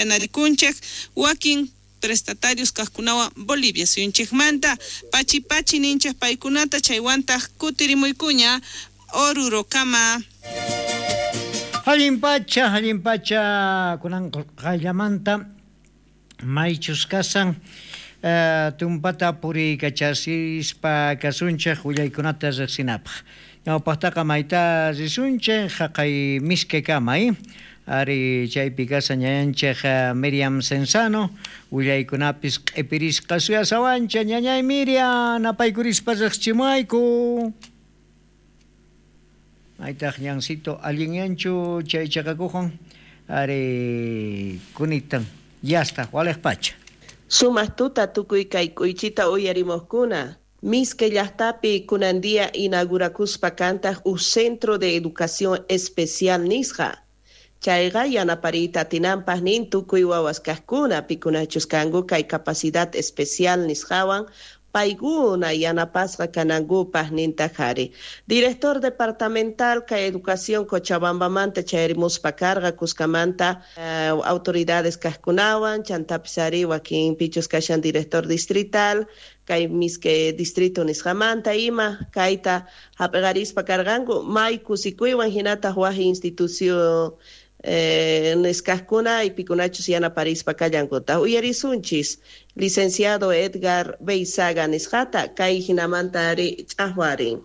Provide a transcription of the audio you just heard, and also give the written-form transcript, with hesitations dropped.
Narikunchik wakin prestatarios kaqkunawan Bolivia suyunchikmanta pachi pachi ninchik paykunata, chaywantaq kutirimuykuña Orurokama. Allin pacha, allin pacha, kunan qayllamanta maychus kasan tumpata puriykachasispa kasunchik willaykunata riqsinapaq. Ñawpaqtaqa mayta risunchik haqay Mishkekama, ari chaypi kasan ñañanchik Miriam Cenzano, willaykunapis q'ipirisqa suyasawancha. Ñañay Miriam, napaykurispa riqchimuwayku. Maytaq ñancito allinyanchu chay chaqakuqwan ari kunitan yasta waliq pacha. Sumaq tuta tukuy kay k'uychita uyarimojkuna. Misque llaqtapi kunan día inaugurakuspa kantaq uj Centro de Educación Especial nisqa. Chayqa yanapariyta atinanpaq nin tukuy wawas kaqkuna pikunachus kanku kay capacidad especial nisqawan paykuna yanapasqa kanankupaq nintaq ari. Director departamental kay educación Cochabambamanta chayarimuspa karqa kuskamanta autoridades kaqkunawan, chantapis ari wakin pichus kashan director distrital kay Misque distrito nisqamanta ima kayta hap'iqarispa karqanku may kusikuywan hinataq waj institución nisqaqkuna pikunachus yanaparispa kallankuta. Uyarisunchis licenciado Edgar Beizaga nisqata kay hinamanta ari ch'ajwarin.